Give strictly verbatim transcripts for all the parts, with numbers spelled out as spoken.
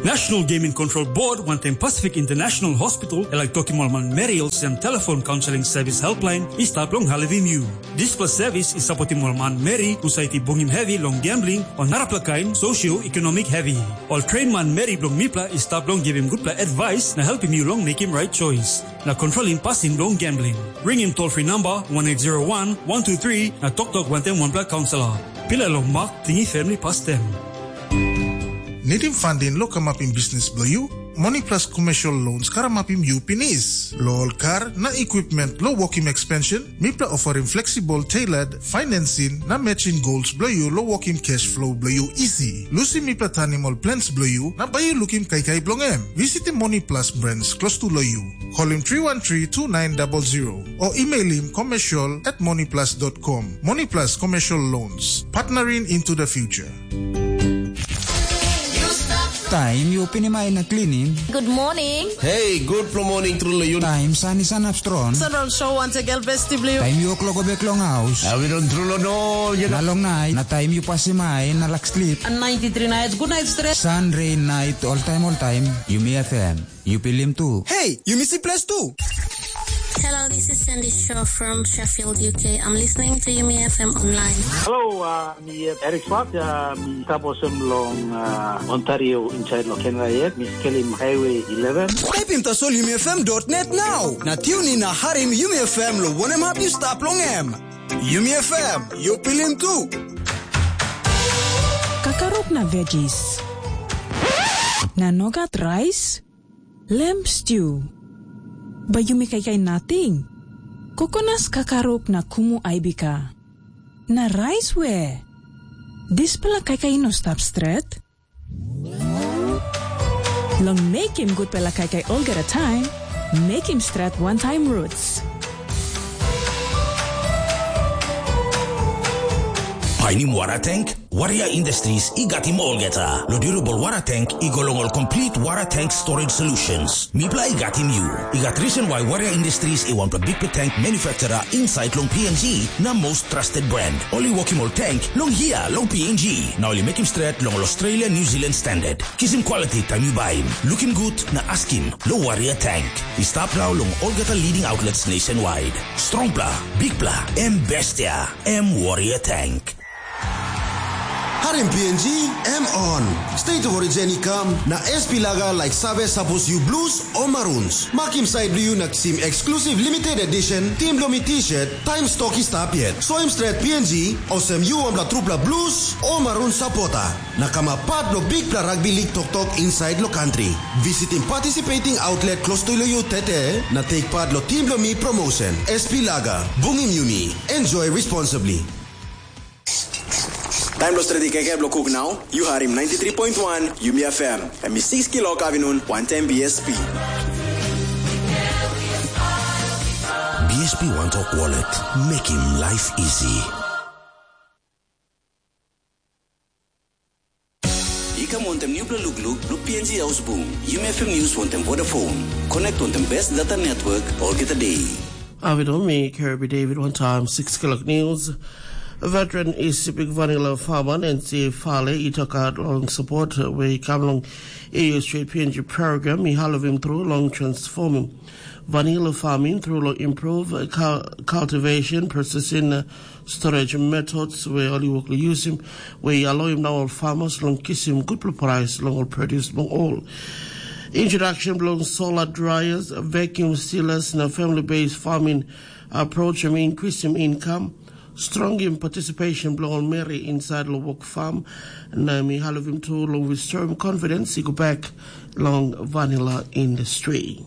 National Gaming Control Board wantaim Pacific International Hospital e laik tokim ol manmeri olsem telefon kaunseling sevis helpline i stap long helpim yu. Dispela sevis i sapotim ol manmeri husat i bungim hevi long gambling o narapela kain socio-economic hevi. Ol train manmeri bilong mipela i stap long givim gutpela advice na helpim yu long mekim right choice na kontrolim pasin bilong gambling. Ringim toll free number one eight zero one one two three na toktok wantaim wanpela kaunselor. Pila long mak, tingi family pastem. Nidim funding lo kamapim bisnis bilong yu? Money Plus Commercial Loans karamapim yu pinis. Lo ol kar na equipment lo wokim expansion, mipela ofarim flexible tailored financing na matching goals bilong yu lo wokim cash flow bilong yu isi. Lusim mipela tanim ol plans bilong yu na bai yu lukim kaikai bilong em. Visitim Money Plus branch klostu lo yu. Kolim three one three two nine double zero o emailim commercial at moneyplus dot com. Money Plus Commercial Loans, partnering into the future. Taim yu pinim ai na klinim. Good morning. Hey, good morning, True Layun. Taim san i sanap strong. Central Show once again, Besti Blue. Taim yu klok bek long haus. Avidon True Lono, you Na know. Long night, na taim yu pasim ai na lak sleep. And ninety-three nights, good night stress. Sun, rain, night, all time, all time. Yumi F M. Yu pilim tu. Hey, yu misi ples tu. Hello, this is Sandy Shaw from Sheffield, U K. I'm listening to Yumi F M online. Hello, uh, mi uh, Eric Swart, uh, mi taposem long uh, Ontario inside lo Canada yet. Mi skelim Highway eleven. Taipim tasol yumi F M dot net now. Na tune in na harim Yumi F M lo wanem hap yu stap long em. Yumi F M, yu pilim tu. Kakaruk na veggies. Na nogat rice? Lamb stew. Bai yumi kaikai nating. Kokonas kakaruk na kumu aibika. Na rais we? Dispela kaikai i no stap stret. Long mekim gutpela kaikai olgeta taim, mekim stret wantaim roots. Painim wara tank? Warrior Industries i gatim olgeta. Lo durable wara tank i go long ol complete wara tank storage solutions. Mipela i gatim yu. I gat reason why Warrior Industries i wanpela bikpela tank manufacturer inside long P N G na most trusted brand. Ol i wokim ol tank long hia long P N G. Na ol i mekim stret long ol Australia New Zealand standard. Kisim quality taim yu baim. Lukim gut na askim lo Warrior Tank. I stap nau long olgeta leading outlets nationwide. Strongpela, bikpela, em bestia, em Warrior Tank. Harim P N G, em on. State of Origin i kam, na S P Lager like save sapos yu blues o maroons. Makim side yu na kisim exclusive limited edition Team Lomi t-shirt, taim stok i stap yet. Soim stret P N G, olsem yu wanpela trupela blues o maroon supporter. Na kamap pat bilong bikpela rugby league toktok inside lo country. Visitim participating outlet close to lo yu tete, na take part lo Team Lomi promotion. S P Lager, bungim yumi. Enjoy responsibly. Taim lo stret i kaikai bilong kuk nau, yu harim ninety-three point one Yumi F M, em i six kilok avinun, wantaim B S P. B S P One Talk Wallet, making life easy. I kam wantaim nupela lukluk long P N G Haus Bung, Yumi F M News wantaim Vodafone. Connect wantaim best data network olgeta day. Avidom mi Kirby David one time six kilok news. Veteran Isipik Vanilla Farmer Nancy Fale i tokaut long support we i kam long A U Street P N G program i halivim tru long transformim vanilla farming tru long improve cultivation, processing, storage methods we ol i wok long yusim, we i aloim na ol farmers long kisim gutpela price long ol produce bilong ol. Introduction bilong solar dryers, vacuum sealers na family-based farming approach em increasing income, strongim participation bilong ol meri inside long work farm, na mi halivim tu long restoring confidence i go back long vanilla industry.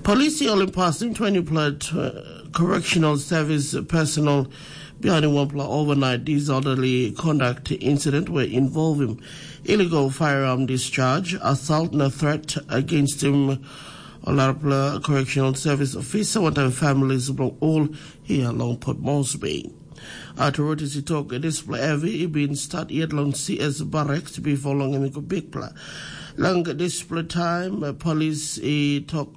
Polisi ol i pasim twenty-pela correctional service personnel bihainim wanpela overnight disorderly conduct incident we involvim illegal firearm discharge, assault na threat against him. A larapela correctional service officer wantaim families bilong ol hia long Port Moresby. Authorities i tok dispela hevi i bin stat yet long C S Barracks bipo long em i go bikpela. Long dispela taim, polis i tok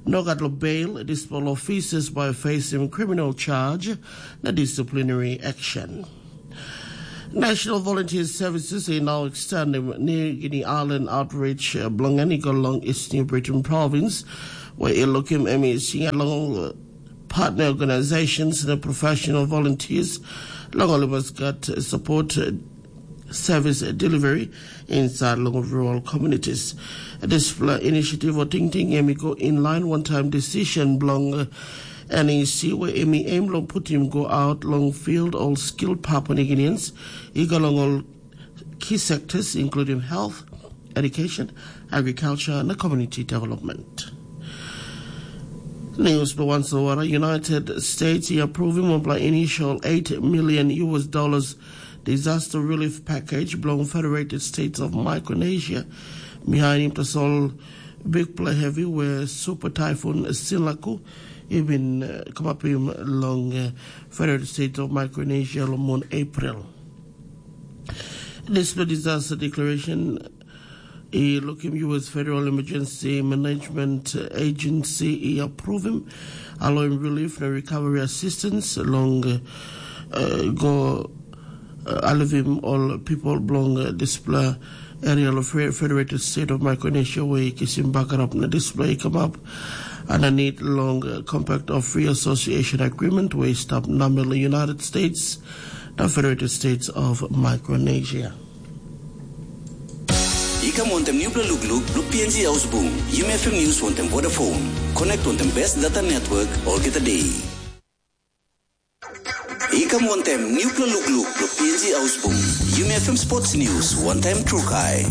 nogat long bail, dispela officers bai facing criminal charge na disciplinary action. National Volunteer Services i nau extendim New Guinea Island Outreach bilong en i go long East New Britain Province, where i lukim em i singa long partner organizations na professional volunteers long ol i mas gat support service delivery inside long rural communities. Dispela initiative o tingting em i go in line one time decision bilong NEC, where em i aim long putim go out long field all skilled Papua New Guineans i go long all key sectors including health, education, agriculture na community development. News by Wansawara, United States i approvim wanpela initial eight million US dollars disaster relief package bilong Federated States of Micronesia. Bihainim tasol bikpela hevi we super typhoon Sinlaku i bin uh, kamapim long uh, Federated States of Micronesia long mun April. Dispela disaster declaration i lukim US Federal Emergency Management Agency i approvim aloim relief na recovery assistance long uh, go uh, alivim ol people bilong uh, dispela area of Federated State of Micronesia where i kisim bagarap na dispela i kamap underneath long uh, Compact of Free Association Agreement where i stap namel United States na Federated States of Micronesia. I kam wantem nupela lukluk bilong P N G Ausbung, Yumi F M News wantem Vodafone. Connect wantem best data network olgeta day. I kam wantem nupela lukluk bilong P N G Ausbung, Yumi F M Sports News wantem Trukai.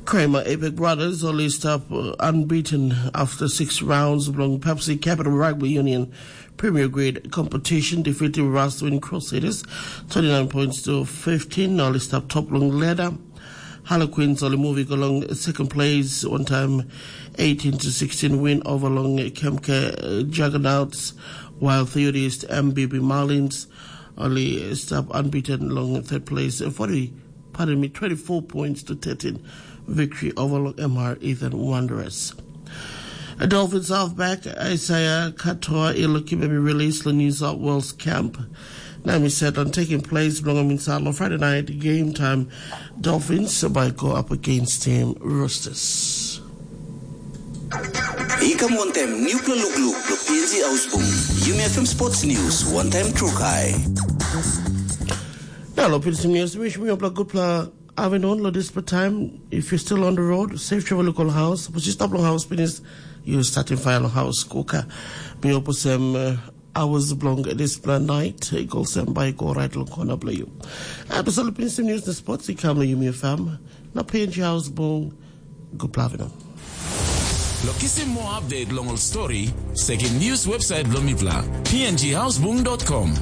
Kramer Epic Brothers only stop uh, unbeaten after six rounds belong Pepsi Capital Rugby Union Premier Grade competition, defeating Rastwin Crusaders twenty-nine points to fifteen. Now let's stop top long ladder. Harlequins only moving along second place one time, eighteen to sixteen win over long Kemke uh, Juggernauts, while Theodist M B B Marlins only stop unbeaten long third place, uh, forty, pardon me, twenty-four points to thirteen victory over long M R Ethan Wanderers. Dolphins halfback Isaiah Katoa i lukim em i release long New South Wales camp. Na em i set on taking place bilong em inside long Friday night game time. Dolphins by go up against team Roosters. I kam wantem nupela lukluk bilong P N G Ausbung, Yumi F M Sports News wantem Trukai. Na lo pilisim news wish mi opla gutpla afternoon lo dispela time. If you're still on the road, safe travel local house. But you stop long house finish, you starting fire long house cooker. Mi opusem uh, hours belong dispela night. Go sem by go right long corner below you. Episode of Pinisim News the Sports i come to you, mi fam. Na P N G House Bung. Guplavino. Lo kisim moa update long ol story, sekim news website bilong mipela, p n g housebung dot com.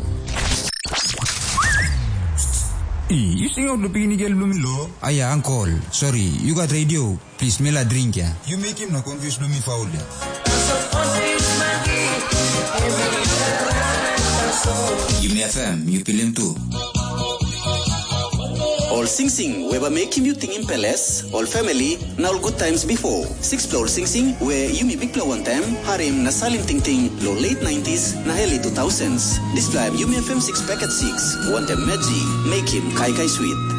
I, you sing out the pini girl bilong mi lo? Aya, uncle. Sorry, you got radio. Please, mela drink ya. You make him na confuse bilong mi faul ya. Yumi F M, you pilim tu. Ol singsing we bai mekim yu tingim peles, ol family, na ol good times before. Sixpela ol singsing we yumi bikpela wantaim harim na salim tingting lo late nineties na early two thousands. Dispela em Yumi F M six packet six, wantaim Meji, mekim kaikai sweet.